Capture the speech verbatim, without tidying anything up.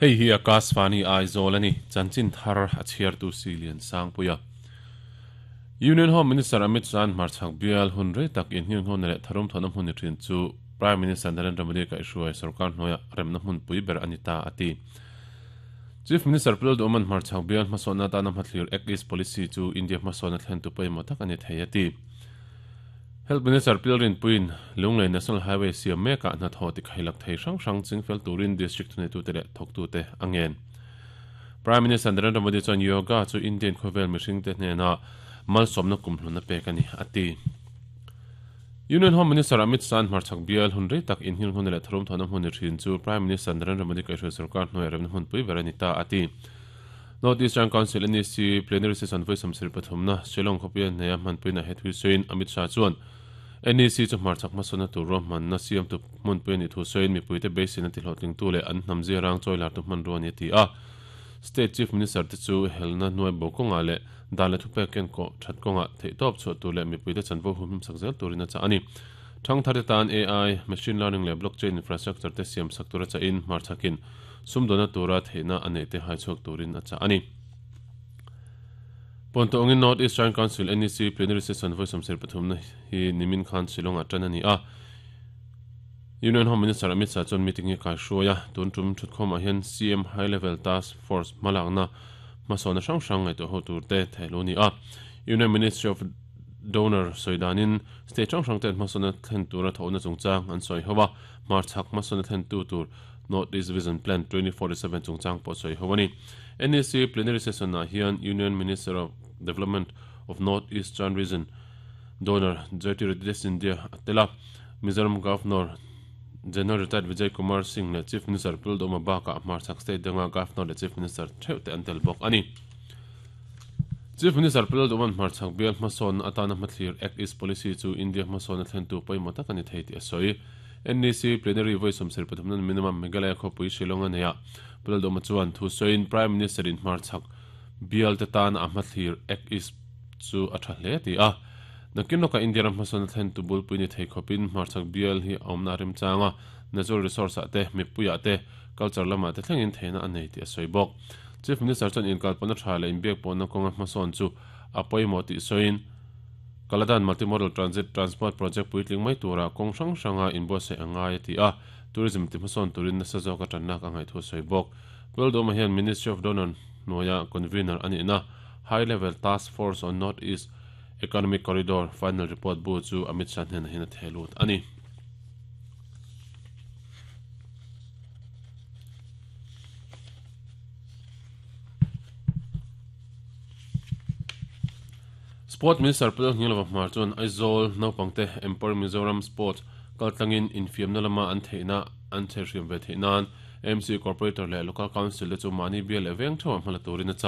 Hei hi Akashvani Aizawl ani chanchin thar a chhiar tu silian sangpuia Union Home Minister Amit Shah hmarchhak bial hun rei tak in hnin hon leh tharum thona hmun ni thin chu Prime Minister Narendra Modi ka hruai sarkar hnuaia remna hmun pui ber ani ta ati Chief Minister Pu Lalduhoma'n hmarchhak bial hmasawnna atana hmathlir Act East Policy chu India hmasawnna thlen tu pawimawh tak ani thei ati Health Minister Pu Lalrinpuiin Lunglei National Highway siam mekah hnathawh ti khailak thei hrang hrang chingfel turin district thuneitute leh thawktute a ngen. Prime Minister Narendra Modi chuan yoga chu Indian khawvel mihringte hnena malsawmna kumhlun a pek a ni a ti. Union Home Minister Amit Shah hmarchhak bial hun rei tak inhil hmun leh tharum thawhna hmun ni thin chu Prime Minister Narendra Modi kaihhruai sarkar hnuaia remna hmun pui ber a ni ta a ti. North Eastern Council N E C plenary session vawi sawmsarih pathumna Shillong khawpuia hneia hmanpuina he thui sawiin Amit Shah chuan N E C chu hmarchhak hmasawnna tur ruahmanna siamtu hmunpui a nih thu sawiin mipuite beiseina tihlawhtlingtu leh an hnam zia rang chawi lartu hmanrua a ni a ti a. State Chief Minister te chu helna hnuai bo kawngah leh dan leh thupek ken kawh that kawngah theihtawp chhuah tur leh mipuite chanvo humhim sak zel turin a chah a ni. Thangthar te tan A I, machine learning leh blockchain infrastructure te siam sak tur a chahin hmarchhakin sumdawna tura theihna a neih te haichhuak turin a chah a ni. Pawntawngin North Eastern Council N E C plenary session vawi sawmsarih pathumna hi nimin khan Shillong-ah tan a ni a. Union Home Minister Amit Shah chuan meeting hi kai hruai a, tun tum thutkhawmah hian C M High Level Task Force hmalakna hmasawnna hrang hrang ngaihtuah ho tur te thehlu a ni a. Union Ministry of Donor sawi danin state hrang hrang ten hmasawnna thlen tura thawhna chungchang an sawi ho a, hmarchhak hmasawnna thlentu tur North East Vision Plan twenty forty seven chungchang pawh sawi ho a ni. N E C plenary session-ah hian Union Minister of Development of North Eastern Region Donor Jyotiraditya Scindia a tel a, Mizoram Governor General Retired Vijay Kumar Singh leh Chief Minister Pu Lalduhoma bakah hmarchhak state danga Governor leh Chief Minister theuh te an tel bawk a ni. Chief Minister Pu Lalduhoma'n hmarchhak bial hmasawnna atana hmathlir Act East Policy chu India hmasawnna thlentu pawimawh tak a ni thei tih a sawi. N E C plenary vawi sawmsarih pathumna minimum Meghalaya khawpui Shillong a nei a, Pu Lalduhoma chuan thu sawiin Prime Minister in hmarchhak bial te tana a hmathlir Act East chu a tha hle ti a. Nakin lawkah India ram hmasawnna thlentu bulpui ni thei khawpin hmarchhak bial hi a awmna a remchang a, natural resource ah te, mipuiah te, culture lamah te thlengin theihna a nei tih a sawi bawk. Chief Minister chuan inkalpawhna tha leh inbiakpawhna kawnga hmasawn chu a pawimawh tih sawiin Kaladan Multimodal Transit Transport Project puitling mai tura kawng hrang hranga inbuatsaih a ngai a ti a, tourism ti hmasawn turin nasa zawka tannak a ngaih thu a sawi bawk. Pu Lalduhoma hian Ministry of Donor hnuaia convener a nihna High Level Task Force on North East Economic Corridor final report bu chu Amit Shah hnenah hian a theh lut a ni. Sport Minister Pu Lalngilova Hmar chuan Aizawl naupangte Empower Mizoram Sports kaltlangin infiamna lama an theihna an chherhriam ve theih nan M C Corporator leh Local Council te chu mahni bial leh veng theuhah hmala turin a chah.